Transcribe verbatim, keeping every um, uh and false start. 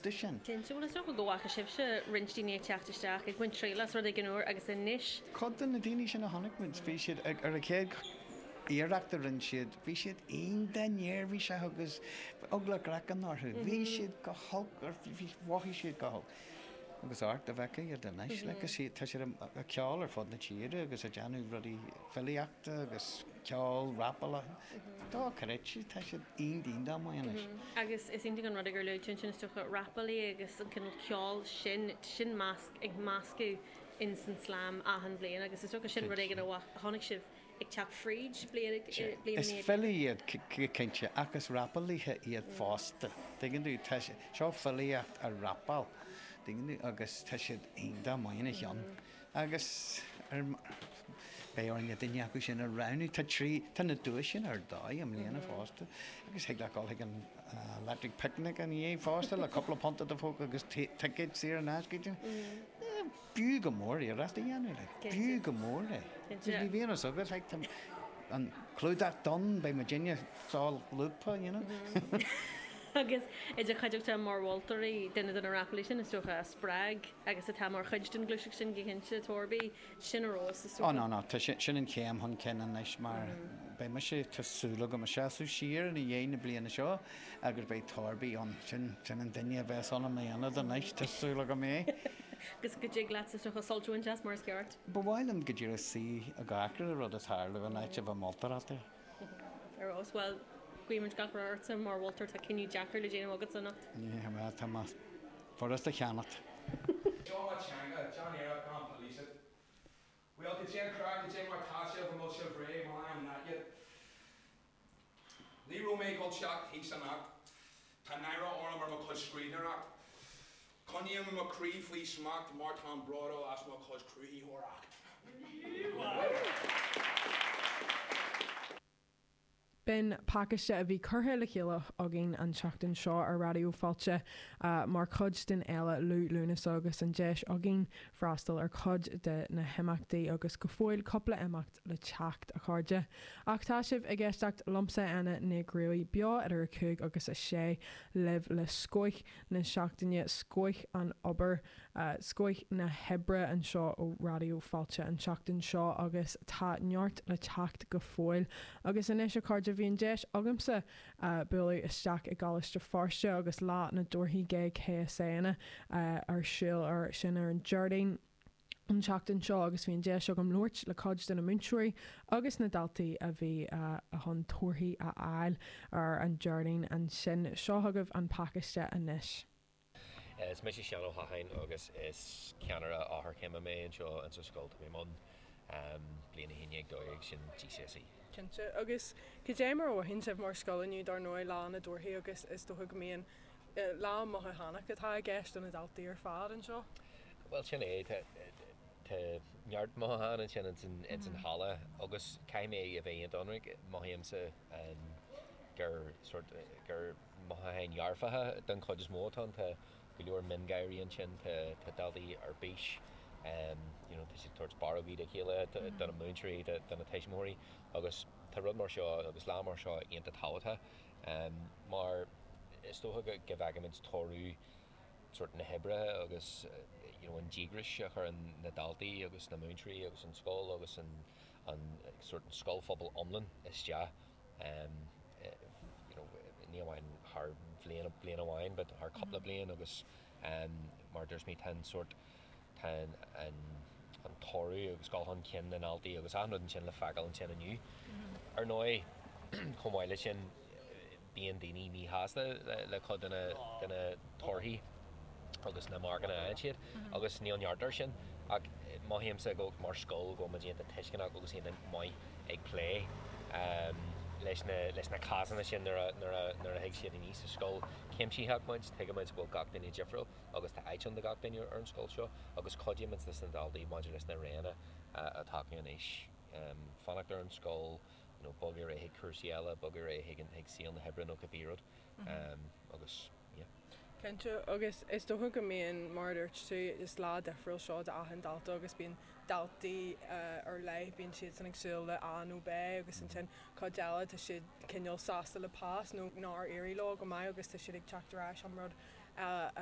iontu sin. Cinnte, bhuel is dócha go bhfaca sibhse roinnt daoine ag teacht isteach, ag baint triail as rud éigin úr agus anois. Cuid de na daoine sin a chonaic muid, bhí siad ag, ar an chéad iarracht a rinne siad, bhí siad iontach neirbhíseach agus eagla craicinn orthu. Bhí siad go holc, bhí, mhothaigh siad go holc. Agus amharc dá bhfeicfeá iad anois, like, is iad, tá siad ag ceol ar fud na tíre agus ag déanamh rudaí filíochta agus ceol, rapála. Dochreidte, tá siad iontach iontach maith anois. Agus is iontach an rud é gur luaigh tú ansin is dócha rapálaí agus an cineál ceoil sin, sin measc, ag meascadh ins an slam achan bhliain agus is dócha sin rud éigin a chonaic sibh ag teacht fríd bliain bliain i Is ndiaidh filí iad cinnte ach is rapálaithe iad fosta. Tuigeann tú, tá sé, seo filíocht á rapáil, tuigeann tú, agus tá siad iontach maith ina cheann. Agus ar, beidh orainn duine acu sin a roghnú, tá trí, tá na duaiseanna ar dóigh i mbliana fosta. Agus thig leat dul chuig an Electric Picnic ina dhiaidh fosta le cúpla punt i do phóca agus ticéad saor in aisce. B'fhiú go mór iarracht a dhéanamh, like. B'fhiú go mór é. Ní bhíonn fhios agat, like, tá an clúdach donn, beidh muidinne solúbtha, you know. Agus i do chuideachta mar mholtóirí, duine de na rapálaí sin is dócha a spreag agus atá mar chuid den ghluaiseacht sin go cinnte, Torby, sin ar fheabhas is Ó dócha. no, no, tá sin, sin an chéim chun cinn anois mar beidh mise, tá súil agam ag seasamh siar ina dhiaidh na bliana seo agus beidh Torby ann, sin, sin an duine a bheas ann i m'ionad anois, tá súil agam é. Agus go dtig leat is dócha sult a bhaint as mar is ceart. Ba mhaith liom go díreach suí ag amharc ar an rud ag tarlú in áit a bheith moltóireacht air. Ar fheabhas, bhuel, guímid gach rath ortsa mar mholtóir, tá cinneadh deacair le déanamh agatsa anocht. Yeah, well, tá mé furast a cheannacht. Seo mo teanga, déan iarracht gan police it. Well, cad é an craic, cad é mar tá sibh, an bhfuil sibh réidh, well I am not yet. Ní raibh mé ag dul teacht thíos anocht. Tá náire orm ar mo chuid scríbhneoireacht. Coinním mo chroí faoi smacht mar táim bródúil as mo chuid cruthaitheoireacht. B'in pacáiste a bhí curtha le chéile againn an tseachtain seo ar Raidió Fáilte mar chuid den fhéile Liú Lúnasa agus an deis againn freastal ar chuid de na himeachtaí agus go fóill cúpla imeacht le teacht, a chairde. Ach tá sibh ag éisteacht liomsa, Anna Nic Ruairí, beo idir a cúig agus a sé libh le scoth na seachtaine, scoth an obair, scoth na hoibre anseo ó Raidió Fáilte an tseachtain seo agus tá neart le teacht go fóill. Agus anois a chairde bhí an deis agamsa bualadh isteach i gColáiste Feirste agus Lá na dTorthaí G K S A ar siúl ar sin ar an Déardaoin an tseachtain seo agus bhí an deis agam labhairt le cuid de na múinteoirí agus na daltaí a bhí chun torthaí a fháil ar an Déardaoin ansin. Seo chugaibh an pacáiste anois. Is mise Seán Ó hAcháin agus is ceannaire eochairchéime mé anseo insa scoil. Tá mé i mbun bliain a haon déag dó dhéag sin G C S E. Cinnte. Agus cad é mar a mhothaíonn sibh mar scoil inniu dar ndóigh Lá na dTorthaí agus is dócha go mbíonn lá mothúchánach atá i gceist do na daltaí ar fad anseo? Bhuel sin é, tá tá neart mothúchán ansin ins an halla agus caithfidh mé a bheith iontach ionraic, mothaímse gur sort gur mothúcháin dhearfacha den chuid is mó atá ann. Tá go leor miongháirí ansin, tá tá daltaí ar bís, you know tá siad ag tabhairt barrógaí dá chéile, do na múinteoirí, do na tuismitheoirí agus tá rud mar seo agus lá mar seo iontach tábhachtach mar is dócha go go bhfeicimid toradh sort na hoibre agus you know an díograis a chuireann na daltaí agus na múinteoirí agus an scoil agus an an sort an scoilphobal iomlán isteach you know ní amháin thar bhliain bliain amháin but thar cúpla bliain agus mar dúirt mé tá an sort tá an an toradh agus dul chun cinn na ndaltaí agus achan rud ansin le feiceáil ansin inniu. Ar ndóigh chomh maith leis sin bíonn daoine míshásta le cuid de na de na torthaí agus na marcanna a fhaigheann siad agus níl neart air sin ach mothaímse go mar scoil go bhfuil muid iontach tuisceanach agus iontach maith ag plé leis na leis na cásanna sin nuair a nuair a nuair a thig siad aníos sa scoil cuimsitheach muid, tuigimid go bhfuil gach duine difriúil agus tá áit ann do gach duine ar an scoil seo agus cuidímid leis na daltaí maidir leis na roghanna atá acu anois fanacht ar an scoil you know bogadh ar aghaidh chuig cúrsaí eile, bogadh ar aghaidh chuig an chuig saol na hoibre nó cibé rud agus yeah. Cinnte, agus is dócha go mbíonn, mar a dúirt tú, is lá difriúil seo d'achan dalta agus bíonn daltaí ar leith, bíonn siadsan ag súil le A nó B agus ansin cuid eile tá siad cineál sásta le pas nó nár éirigh leo go maith agus tá siad ag teacht ar ais an rud eile.